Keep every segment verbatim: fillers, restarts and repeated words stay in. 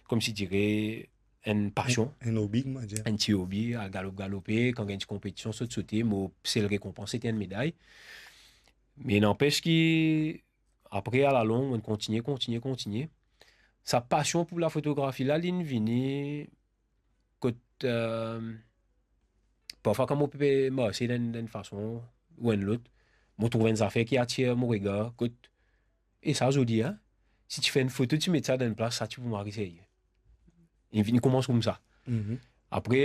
koumsi dire, enn pasion. Enn, enn hobi, kouma dir. Enn ti hobi, al galop, galope, kan gagn ti konpetision, sot, sote, mo sel rekonpans, sete enn meday. Me nanpes ki, apre, alalong, mo kontigne, kontigne, kontigne. Sa pasion pou lafotografi la, linn vini kot, eh, parfwa kan mo pe marse dan, dan enn fason ou enn lot, mo trouv enn zafer ki atir mo regar, kot, e sa, zordi, en, si ti fer enn foto, ti met sa dan enn plas, sa ti pou mari serye. Linn vini koumans koumsa. Mhm. Apre,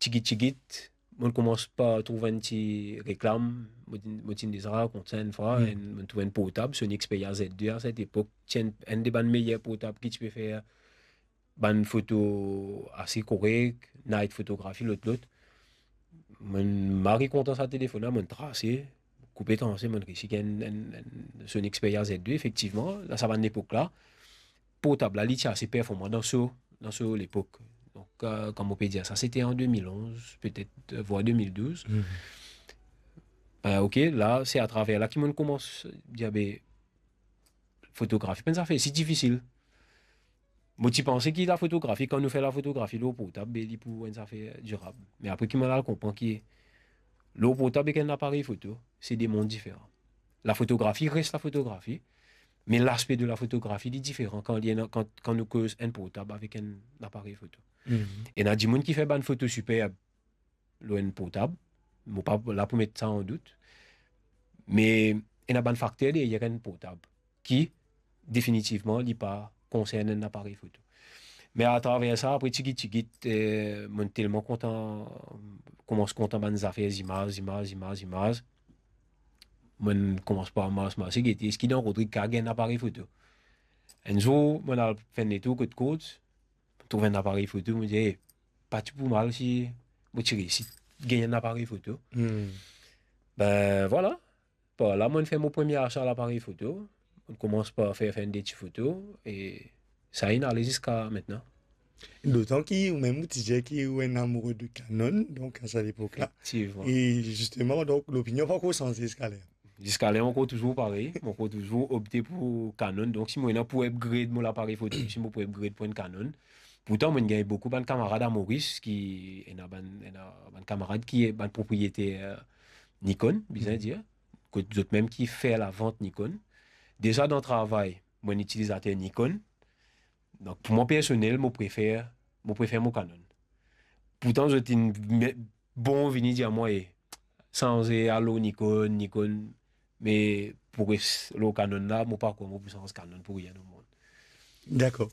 tigit, tigit, mo koumans par trouv enn ti reklam, mo ti, mo ti deza rakont sa enn fwa, Hmm. enn, mo trouv enn portab, Sony Xperia Z deux a set epok, ti enn, enn de bann meyer portab ki ti pe fer bann foto ase korek, night photography, lot, lot. Mo mari kontan sa telefonn la, mo trase, koupe transe, mo resi gagn enn, enn, enn Sony Xperia Z deux, efektivman, dan sa bann epok la, portab la, li ti ase performan dan so, dan so lepok. Donk, eh, kouma mo pe dir sa, sete an de mil onz, petet, eh, vwar de mil douz. Mhm. Eh, ok, la, se atraver la ki mo koumans dir, be, fotografi pa enn zafer si difisil. Mo ti panse ki lafotografi, kan nou fer lafotografi lor portab, be, li pou enn zafer dirab. Me apre ki mo al konpran ki lor portab ek enn aparey foto, se de mond diferan. Lafotografi res lafotografi, me laspe de lafotografi, li diferan kan li ena, kan, kan nou koz enn portab avek enn aparey foto. Mhm. Ena dimoun ki fer bann foto siperb lor enn portab, mo pa la pou met sa an dout, me ena bann fakter deryer enn portab ki, definitivman, li pa konsern enn aparey foto. Me atraver sa, apre tigit, tigit, eh, mo telman kontan, koumans kontan bann zafer zimaz, zimaz, zimaz, zimaz. Mo koumans par mars, mars, gete, eski dan Rodrig kav gagn enn aparey foto? Enn zour, mo al fer enn letour kot Courts, trouv enn aparey foto, mo dir, "Eh, pa ti pou mal si mo ti resi gagn enn aparey foto." Hmm. Be, vwala. Par la, mo fer mo premie asa laparey foto. Mo koumans par fer, fer enn de ti foto, e sa inn ale ziska aster. Dotan ki ou mem ou ti dir ki ou enn amoure de Canon, donk, a set epok la. Efektivman. E zisteman, donk, lopinion pa ankor sanze ziska ler. Ziska ler, mo ankor touzour parey, mo ankor touzour opte pou Canon. Donk, si mo ena pou upgrade mo laparey foto, si mo pou upgrade pou enn Canon. Pourtan, mo gagn boukou bann kamarad a Moris ki, ena bann, ena bann kamarad ki bann propriyeter Nikon, bizin dir, kot zot mem ki fer lavant Nikon. Deza dan travay, mo enn itilizater Nikon. Donk, pou mwa personel, mo prefer, mo prefer mo Canon. Pourtan, zot inn me-, bon vini dir mwa, "Eh, sanze, al lor Nikon, Nikon." Me pou res lor Canon la, mo pa krwar mo pou sanz Canon pou rien o mond. Dakor.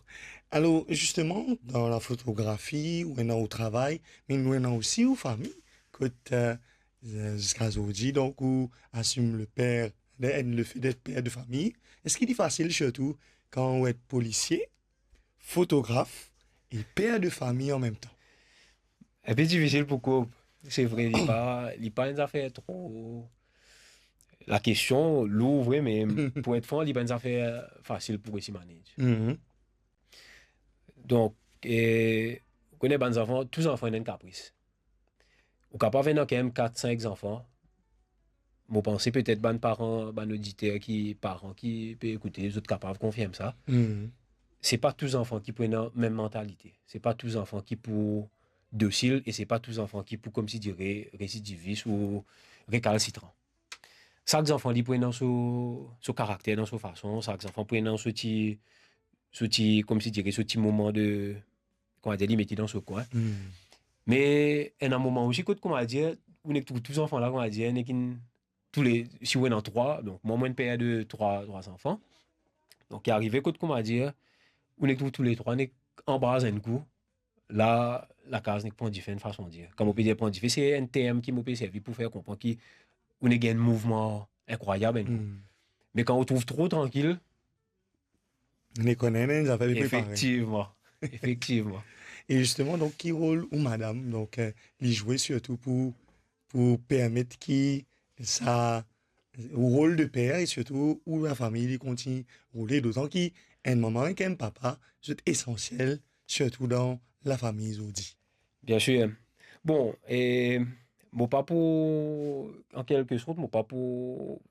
Alor, zisteman, dan lafotografi, ou ena ou travay, me nou ena osi ou fami, kot, eh, ziska zordi, donk, ou asim le per, le, le fe det per de fami. Eski li fasil, sirtou kan ou et polisie, fotograf e per de fami an mem tan? Enpe difisil pou koup. Se vre, li pa, li pa enn zafer tro, lakestion lour vre, me pou et fran, li pa enn zafer fasil pou resi manage. Mhm. Donk, e, ou kone bann zanfan, tou zanfan ena enn kapris. Ou kapav ena kanmem kat, sink zanfan. Mo panse petet bann paran, bann oditer ki, paran ki pe ekoute, zot kapav konfirm sa. Mhm. Se pa tou zanfan ki pou ena mem mantalite. Se pa tou zanfan ki pou dosil e se pa tou zanfan ki pou, koumsi dire, residivis ou rekalsitran. Sak zanfan li pou ena so, so karakter dan so fason, sak zanfan pou ena so ti, so ti, koumsi dire, so ti moman de, kouma dir, li mete dan so kwin. Hmm. Me ena moman osi kot, kouma dir, ou nek trouv tou zanfan la, kouma dir, nek inn, toule, si ou ena trwa, donk mwa, mo enn per de trwa, trwa zanfan. Donk, li arive kot, kouma dir, ou nek trouv touletrwa nek anbraz enn kou, la, lakaz nek pran dife, enn fason dir. Kan mo pe dir pran dife, se enn term ki mo pe servi pou fer konpran ki ou nek gagn enn mouvman inkrwayab enn kou. Hmm. Me kan ou trouv tro trankil, Li kone enn zafer li prepare. Efektivman. Efektivman. E zisteman, donk, ki rol ou madam, donk, eh, li zwe sirtou pou, pou permet ki sa, ou rol de per e sirtou ou lafami li kontign roule, dotan ki enn manman ek enn papa, zot esansiel, sirtou dan lafami zordi? Bien sir. Bon, e mo pa pou, an kelke sort, mo pa pou